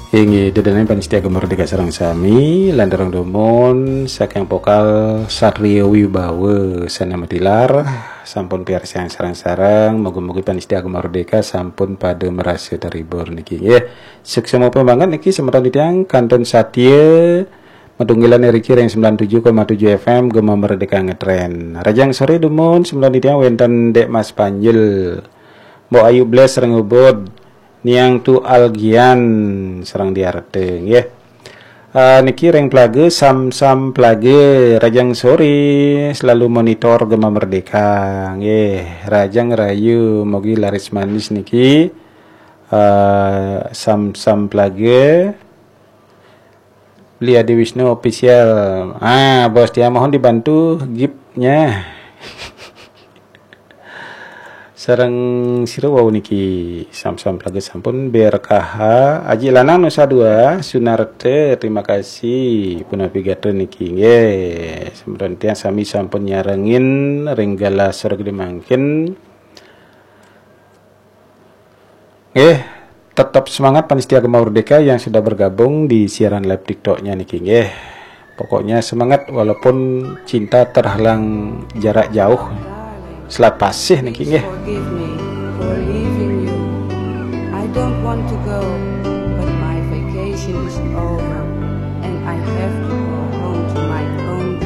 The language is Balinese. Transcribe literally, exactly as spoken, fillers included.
Inggih, dedenen panitia Gema Merdeka sareng sami, lanturung dumun saking vokal Satrio Wibawa Sana Matilar, sampun piarsayang sareng-sareng, mugi-mugi panitia Gema Merdeka sampun pada merasa terhibur niki nggih. Suksma banget niki semeton titiang kantun satia matunggilan iriki ring sembilan tujuh koma tujuh F M Gema Merdeka ngetren. Rahajeng sore dumun semeton titiang wenten Dek Mas Panjil, Mbok Ayu Bles ring Ubud, Niang Tu Algian sareng Diarte nggih. Ah, niki ring Plaga, Sam-Sam Plaga, rahajeng sore, selalu monitor Gema Merdeka nggih. Rahajeng rahayu, mugi laris manis niki. Ah, Sam-Sam Plaga, Beli Adi Wisnu Official. Ah, Bos Tia, mohon dibantu giftnya. Sareng sira wau niki, Sam-Sam Plaga sampun, B R K H, Aji Lanang Nusa Dua, Sunarte, terima kasih, punapi gatra niki nggih. Semeton titiang sami sampun nyarengin ring galah sore gede mangkin. Nggih, tetap semangat panitia Gema Merdeka yang sudah bergabung di siaran live TikToknya niki nggih. Pokoknya semangat walaupun cinta terhalang jarak jauh. Selat Pasih niki nggih. Forgive me for leaving you. I don't want to go, but my vacation is over and I have to